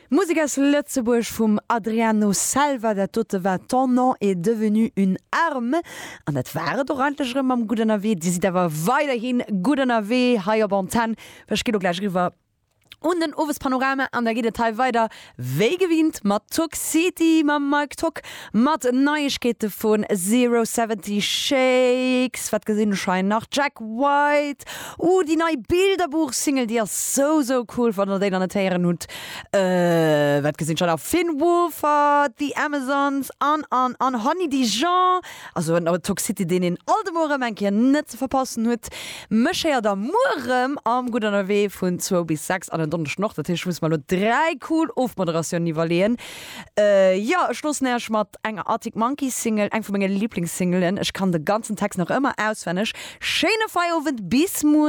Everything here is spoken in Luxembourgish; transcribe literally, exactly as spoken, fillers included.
Musek aus Lëtzebuerg vum Adriano Selva, dat dote war Ton nom est devenu une arme. An dat war et och eigentlech erëm mam Gutt Ënnerwee. Dir sidd awer weiderhi gutt ënnerwee hei op Antenn. Ech ginn elo gläich eriwwer un den Owespanorama an da geet et hei weider wéi gewinnt mat Tock City mam Mike Tock, mat Neiegkeete vun Zero Seventy Shakes, wat gesinn ech hei nach, Jack White, uh déi nei Bilderbuch-Single, déi ass sou sou cool, wann der déi nach net héieren hutt, wat gesinn ech hei nach, Finn Wolfhard, The Amazons an an an Honey Dijon, also en Tock City deen een alt emol erëm eng Kéier net ze verpassen huet. Mech héiert der muer erëm am Gutt Ënnerwee vun zwou bis sechs an en Donneschden och. Dat heescht, ech muss mer elo dräi cool Ofmoderatiounen iwwerleeën. Jo, ech loossen Iech mat enger Arctic Monkeys Single, eng vu menge Liblingssingelen. Ech kann de ganzen Text nach ëmmer auswenneg. Schéine Feierowend, bis muer!